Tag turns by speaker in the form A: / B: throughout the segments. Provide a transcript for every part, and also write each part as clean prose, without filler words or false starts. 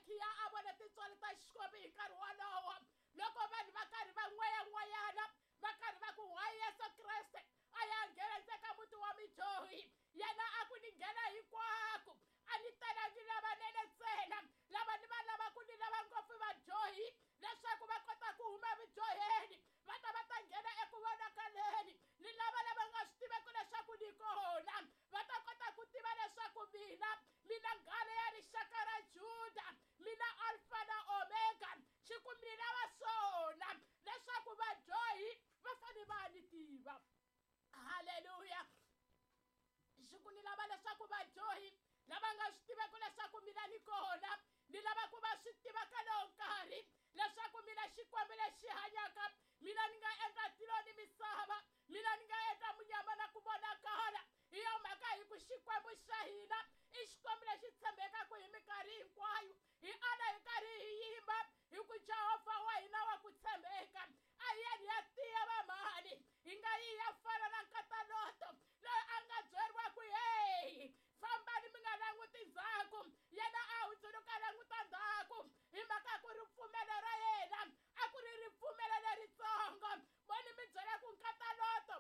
A: Zakiya a vona tintswalo ta Xikwembu hi nkarhi wolowo loko vanhu va karhi va n'wayan'wayana va karhi va ku why Yesu Kreste a ya nghena ndzeni ka muti wa midyohi yena a ku ni nghena hinkwako a ni talangi lavanene ntsena lava ni va lavaku ni lava ngopfu vadyohi leswaku va kota ku huma vudyoheni va ta va ta nghena eku vonakaleni ni lava lava nga swi tiveki leswaku ni kona va ta kota ku tiva leswaku mina mina nghala ya rixaka ra Juda mina Alfa na Omega xi ku mi lava swona leswaku vadyohi va fanele va ni tiva halleluya xi ku ni lava leswaku vadyohi lava nga swi tiveki leswaku mina ni kona ni lava ku va swi tiva ka lowo nkarhi leswaku mina Xikwembu lexi hanyaka mina ni nga endla tilo ni misava mina ni nga endla munyama na ku vonakala hi yo mhaka hi ku Xikwembu xa hina i Xikwembu lexi tshembekaka hi minkarhi hinkwayo hi ala hi karhi hi yimba hi ku Jehovha wa hina wa ku tshembeka a hi yeni ya tiya vamhani hi nga yi ya fana na nkataloto loyi a nga byeriwa ku heyi fambani mi nga languti ndzhaku yena a hundzuluka languta ndzhaku hi mhaka ku ripfumelo ra yena a ku ri ripfumelo leritsongo voni mi byela ku nkataloto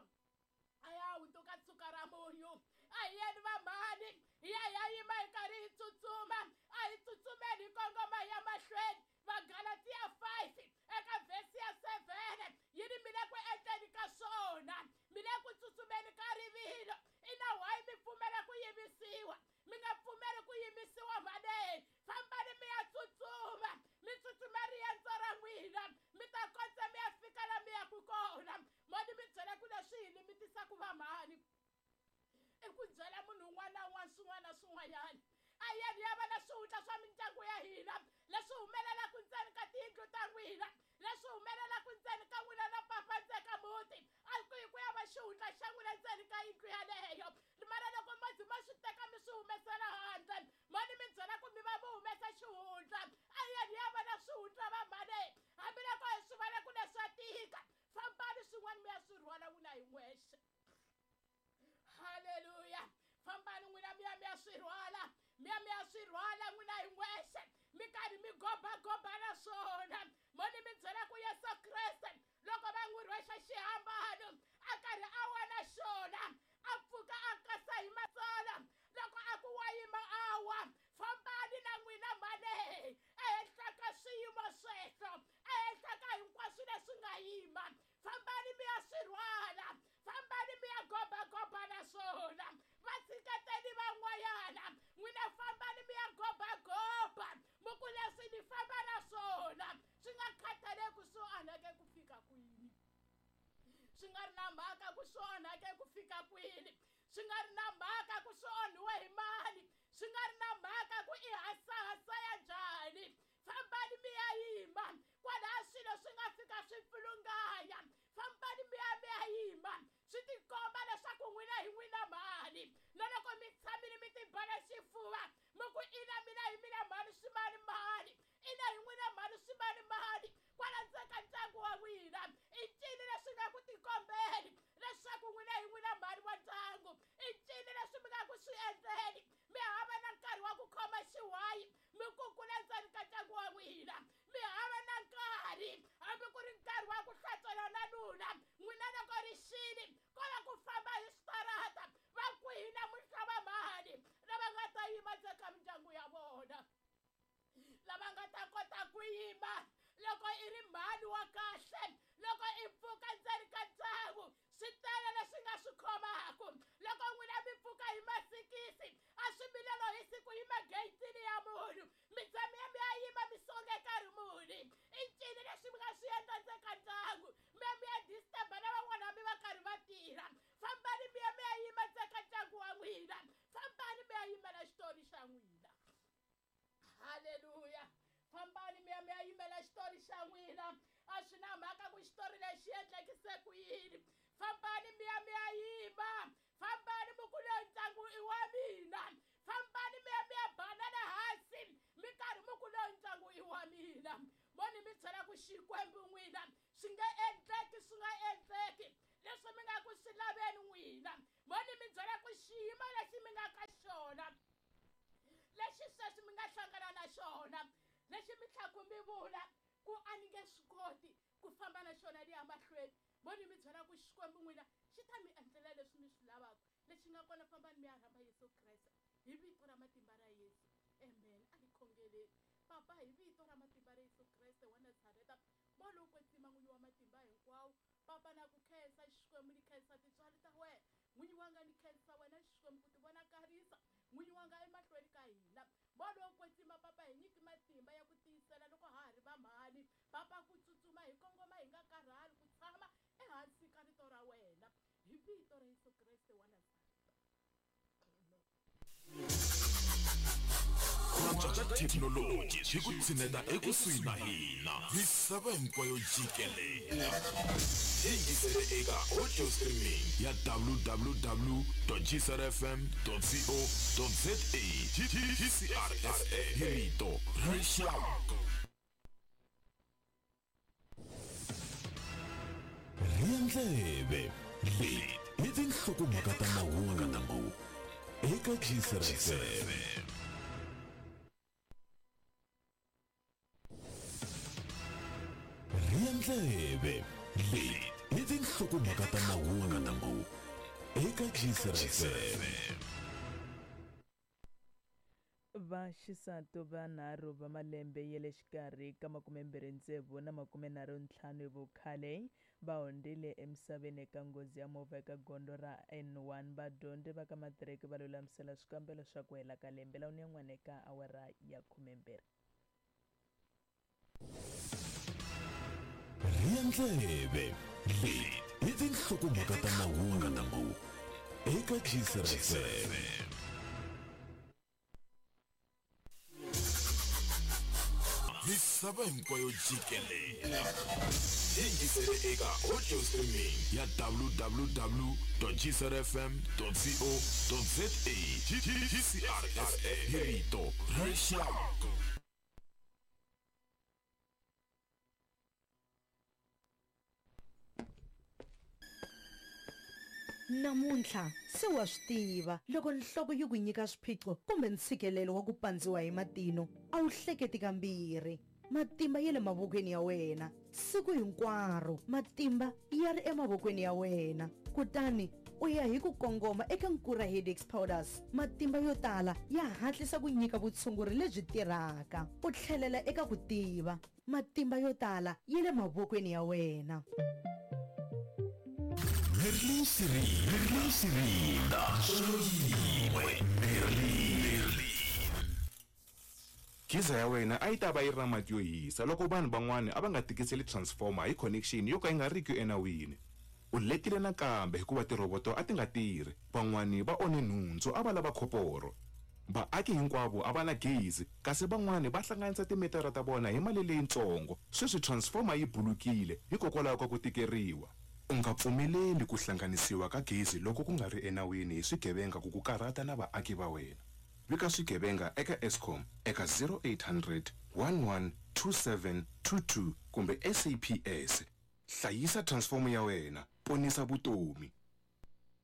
A: a ya hundzuka tshuka ra munyu a hi yeni vamhani hi ya hi ya yima hi karhi hi tsutsuma a hi tsutsumeni hi kongoma hi ya mahlweni Vagalatiya 5 eka vhesi ya 7 yi ri mi le ku endleni ka swona mi le ku tsutsumeni ka rivilo ina why mi pfumela ku yimisiwa mi nga pfumeli ku yimisiwa mhaneni fambani mi ya tsutsuma mi tsutsuma riendzo ra n'wina mi ta kondza mi ya fika la mi yaku kona moni mi byela ku leswi hi limitisaka vamhani i ku byela munhu un'wana na un'wana swin'wana na swin'wanyana a yeni ya va na swihundla swa mindyangu ya hina leswi humelelaka ntsena ka tiyindlu ta n'wina leswi humelelaka ntsena ka n'wina na papa ntsena ka muti a ku yi ku ya va xihundla xa n'wina ntsena ka yindlu yaleyo mara loko mo ze ma swi teka mi swi humesela handle mani mi byela ku mi va mi humesa xihundla a yeni ya va na swihundla va mhani hambiloko hi swi vona ku leswa tika fambani swin'wana mi ya swi rhwala n'wina hi n'wexe halleluya fambani n'wina mi ya mi ya swi rhwala mi ya mi ya swi rhwala n'wina hi n'wexe mi karhi mi gobagoba na swona moni mi byela ku Yesu Kreste loko va n'wi rhwexa xihambano a karhi a wa na xona a pfuka a kasa hi matsolo loko a ku wa yima a wa fambani na n'wina mhane ehenhla ka swiyimo sweswo ehenhla ka hinkwaswo leswi nga yima fambani mi ya swi rhwala fambani mi ya gobagoba na swona va tshiketeni van'wanyana n'wina fambani mi ya gobagoba mi ku leswi ni famba na swona swi nga khathaleki swi onhake ku fika kwini swi nga ri na mhaka ku swi onhake ku fika kwini swi nga ri na mhaka ku swi onhiwe hi mani swi nga ri na mhaka ku i hasahasa ya njhani fambani mi ya yima kwalaha swilo swi nga fika swi pfilunganya fambani mi ya mi ya yima swi tikomba leswaku n'wina hi n'wina mhani na loko mi tshamile mi tibala xifuva mi ku ina mina hi mina mhani swi mani mani ina hi n'wina mhani swi mani mani kwala ndzeni ka ndyangu wa n'wina i ncini leswi nga ku tikombeni leswaku n'wina hi n'wina mhani wa ndyangu i ncini leswi mi nga ku swi endleni mi hava na nkarhi wa ku khoma xiwayi mi kukula ndzeni ka ndyangu wa n'wina mi hava na nkarhi hambi ku ri nkarhi wa ku hlantswela na nuna n'wina loko ri xini ko va ku famba hi switarata va kwihi namuntlha va mhani lava nga ta yima ndzeni ka mindyangu ya vona lava nga ta kota ku yima loko i ri mhani wa kahle loko i pfuka ndzeni ka ndyangu swi tele leswi nga swi khomaka loko n'wina mi pfuka hi masikisi a swi milelo hi siku yima geyitini ya munhu mi za mi ya mi ya yima mi songe nkarhi muni i ncini leswi mi nga swi endla ndzeni ka ndyangu mi ya mi ya disturba na van'wana mi va karhi va tirha fambani mi ya mi ya yima ndzeni ka ndyangu wa n'wina fambani mi ya yimela xitori xa n'wina halleluya fambani mi ya mi ya yimela xitori xa n'wina a swi na mhaka ku xitori lexi endlekise ku yini fambani mi ya mi ya yima fambani mi ku loyi ntlangu i wa mina fambani mi ya mi ya banana hansi mi karhi mi ku loyi ntlangu i wa mina moni mi byela ku xikwembu n'wina swi nge endleki swi nga endleki leswi mi nga ku swi laveni n'wina moni mi byela ku xiyimo lexi mi nga ka xona lexi sweswi mi nga hlangana na xona Lexi mi tlhaku mi vula ku a ni nge swi koti ku famba na xona ni ya mahlweni, mo ni mi byela ku Xikwembu n'wina xi ta mi endlela leswi mi swi lavaka. Lexi nga kona fambani mi ya rhamba Yesu Kreste hi vito ra matimba ra Yesu. Amen. A hi khongeleni. Papa, hi vito ra matimba ra Yesu Kreste wa Nazareta, Moya lowo Kwetsima, N'winyi wa matimba hinkwawo, Papa, na ku khensa Xikwembu, ni khensa tintswalo ta wena. N'winyi wanga, ni khensa wena Xikwembu ku tivonakarisa, N'winyi wanga, emahlweni ka hina. Moya lowo Kwetsima, Papa, hi nyiki matimba ya ku tiyisela loko ha ha ri vamhani, Papa, ku tsutsuma hi kongoma hi nga karhali, ku tshama ehansi ka Rito ra wena. Hi vito ra Yesu Kreste wa Nazareta.
B: Ku antswa ka thekinoloji swi ku tshineta ekusuhi na hina misava hinkwayo jikelele. Yingisele eka audio streaming ya www.gcrfm.co.za GCRFM hi rito ra rixaka. Rhiya ndleve leti i tinhlokomhaka ta mahungu eka GCRFM. Rhiya ndleve leti i tinhlokomhaka ta mahungu eka GCRFM.
C: Vaxisati vanharhu va malembe ya le xikarhi ka 26 na 35 hi vukhale va hundzile emisaveni eka nghozi ya movha eka gondzo ra N1. Vadyondzi va ka matiriki va lulamisela swikambelo swa ku hela ka lembe lawuni yan'wana eka awara ya 12.
B: Rhiya ndleve leti i tinhlokomhaka ta mahungu eka GCRFM. Misava hinkwayo jikelele yingisele eka audio streaming ya www.gcrfm.co.za GCRFM hi rito ra rixaka.
D: Namuntlha se wa swi tiva, loko nhloko yi ku nyika swiphiqo kumbe ntshikelelo wa ku pandziwa hi matino, a wu hleketi kambirhi. Matimba ya le mavokweni ya wena. Siku hinkwaro matimba ya ri emavokweni ya wena. Kutani u ya hi ku kongoma eka Nkura Headaches Powders. Matimba yo tala ya hatlisa ku nyika vutshunguri lebyi tirhaka. U tlhelela eka ku tiva. Matimba yo tala ya le mavokweni ya wena.
B: Merlin Sirinda, Merlin Sirinda, Ntswalo yin'we, Merlin.
E: Geyser ya wena a yi ta va yi ri na mati yo hisa loko vanhu van'wana a va nga tikiseli transformer hi connection yo ka yi nga riki enawini. U letile nakambe hikuva tirhoboto a ti nga tirhi. Van'wana va onhe nhundzu a va lava khoporo. Vaaki hinkwavo a va na gezi kasi van'wana va hlanganisa timitara ta vona hi mali leyintsongo. Sweswi transformer yi bulukile hikokwalaho ka ku tikeriwa. U nga pfumeleli ku hlanganisiwa ka gezi loko ku nga ri enawini hi swigevenga ku ku karhata na vaaki va wena. Vika swigevenga eka Eskom eka 0800 11 27 22 kumbe SAPS. Hlayisa transfomo ya wena, ponisa vutomi.